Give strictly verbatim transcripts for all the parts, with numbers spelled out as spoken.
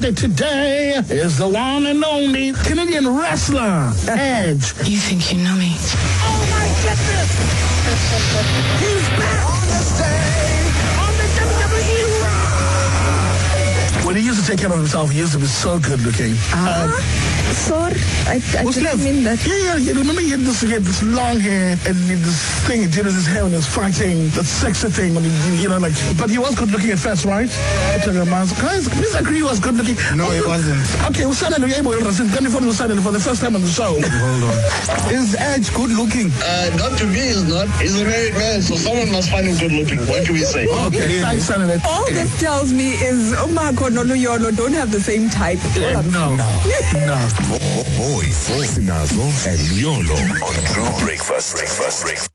birthday today is the one and only Canadian wrestler, Edge. You think you know me? Oh my goodness! He's back on the stage on the W W E Raw. When he used to take care of himself, he used to be so good looking. Ah. Uh, Sorry, I, I What's didn't left? mean that. Yeah, yeah, yeah. Remember he had this, he had this long hair and he had this thing he did with his hair when he was fighting, that sexy thing, when he, you know, like, but he was good looking at first, right? Guys, please agree he was good looking. No, he wasn't. Okay, we'll suddenly for the first time on the show. Hold on. Is Edge good looking? Uh, not to me, he's not. He's a married man, so someone must find him good looking. What can we say? Okay, thanks, Sanele. All this tells me is Umako Noluyolo don't have the same type. Yeah, no, no, no. Boys, Sinazo and Yolo on True Breakfast. Breakfast. Breakfast.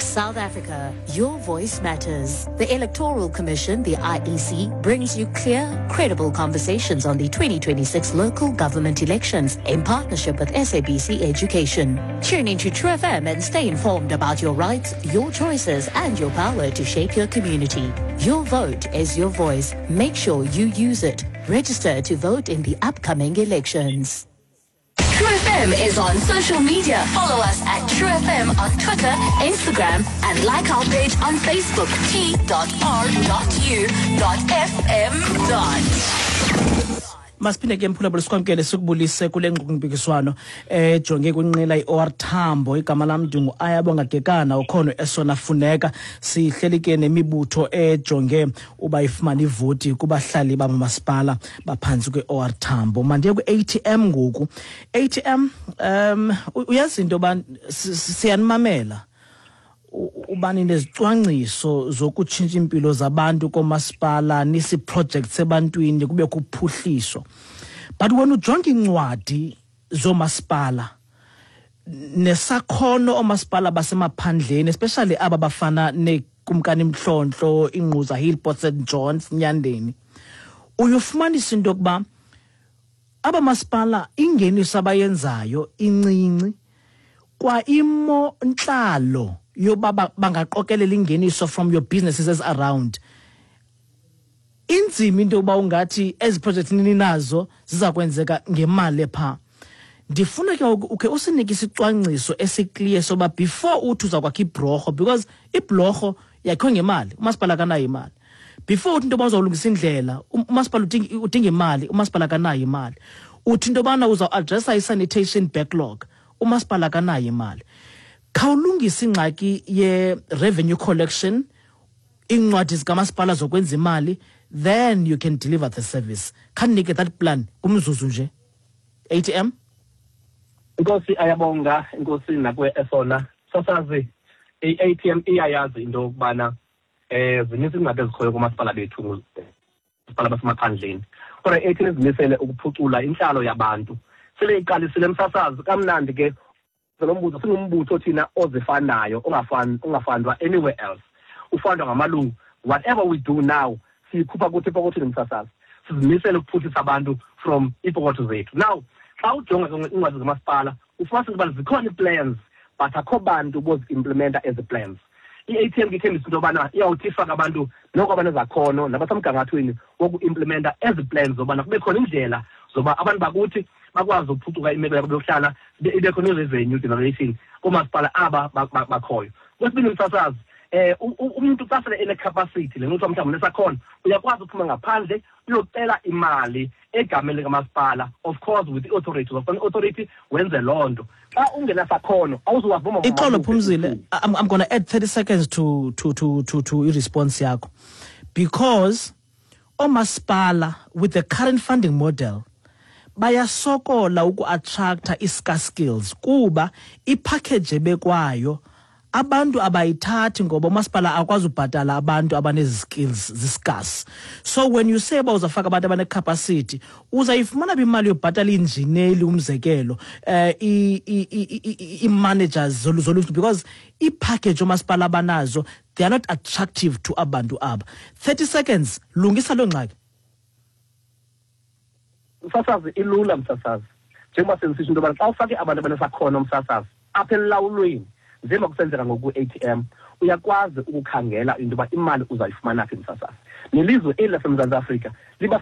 South Africa, your voice matters. The Electoral Commission, the I E C, brings you clear, credible conversations on the twenty twenty-six local government elections in partnership with S A B C Education. Tune into True F M and stay informed about your rights, your choices, and your power to shape your community. Your vote is your voice. Make sure you use it. Register to vote in the upcoming elections. True F M is on social media. Follow us at True F M on Twitter, Instagram, and like our page on Facebook, T dot R dot U dot F M dot. Masiphinde ke mphulaphula sikwamkele sikubulise kule ngxoxo-mpikiswano ejonge kwinqila i-O R Tambo. Igama lam ndingu Ayabonga Gekana, ukhona esona funeka. Sihleli ke nemibutho ejonge uba ifumane ivoti kubahlali bamamasipala baphantsi kwe-O R Tambo. Mandiye kwi-A T M ngoku. A T M, um uyazi into yoba siyanimamela ubani nezicwangciso zokutshintsha impilo zabantu komasipala, nisi projects ebantwini kube kuphuhliso. But wena ujonga incwadi zomasipala nesakhono omasipala basemaphandleni, especially aba bafana neKumkani Mhlontlo, Ingquza Hill, Port Saint Johns, Nyandeni, uyofumanisa into yokuba aba masipala ingeniso abayenzayo incinci, kwa imo ntlalo yoba bangaqokelela ingeniso from your businesses around. Inzima into yoba ungathi ezi projects ninazo ziza kwenzeka ngemali pha. Ndifuna ke ukhe usinike isicwangciso esiclear soba before uthi uza kwakha ibhlorho, because ibhlorho yakhiwe ngemali, umasipala akanayo imali. Before uthi into yoba uzawulungisa indlela, umasipala udinga imali, umasipala akanayo imali. Uthi into yobana uzawu-addressa i-sanitation backlog, umasipala akanayo imali. Khawulungisa ingxaki ye-revenue collection, iincwadi zikamasipala zokwenza imali, then you can deliver the service. Khandinike that plan kumzuzu nje. A T M? Inkosi Ayabonga, inkosi nakwe esona. Sasazi, i-A T M iyayazi into yokubana eh zininzi iingxaki ezikhoyo koomasipala bethu, masipala basemaphandleni. Kodwa i-A T M izimisele ukuphucula intlalo yabantu. Sele iqalisile msasazi kamnandi ke lo mbutho, singumbutho thina ozifanayo, ongafani ongafandwa anywhere else. Ufandwa ngamalungu. Whatever we do now, siyikhupha kuthi ipokothini msasazi. Sizimisele ukuphuhlisa abantu from iipokotho zethu. Now, xa ujonga iincwadi zamasipala, ufumanisa ukuba zikhona ii-plans, but akho bantu bozi-implementa ezi plans. I-A T M ke ithembisa into yobana iyawuthi ifake abantu noko abanezakhono nabasemgangathweni woku-implementa ezi plans zobana kube khona indlela zoba abantu bakuthi bakwazi ukuphucuka imeko yabo yokuhlala, ibe khona i-revenue generation koomasipala aba bakhoyo. Kwesibini msasazi, eh umuntu xa sele ene-capacity le nto mhlawumbi unesakhono, uyakwazi ukuphuma ngaphandle uyocela imali egameni likamasipala, of course with the authority. Of authority wenze loo nto. Xa ungenasakhono awuzuwazi uba Ixolo Phumzile, I'm, I'm gonna add thirty seconds to to to to to i-response yakho, because oomasipala with the current funding model bayasokola uku-attracta i-scarce skills kuba ipackage ebekwayo abantu abayithathi ngoba umasipala akwazi ubhatala abantu abanezi skills ziscarce. So when you say uba uzafaka abantu abanecapacity, uzayifumana imali yobhatala iinjineli, umzekelo, eh i-managers zoluntu, because ipackage omasipala abanazo, they are not attractive to abantu aba. thirty seconds, lungisa loo ngxaki. Msasazi, ilula msasazi. Njengoba sensisho into yobana xa ufake abantu abanesakhono msasazi apha elawulweni, njengoba kusenzeka ngoku A T M, uyakwazi ukukhangela into yoba imali uzayifumana phi msasazi. Nelizwe eli laseMzantsi Afrika liba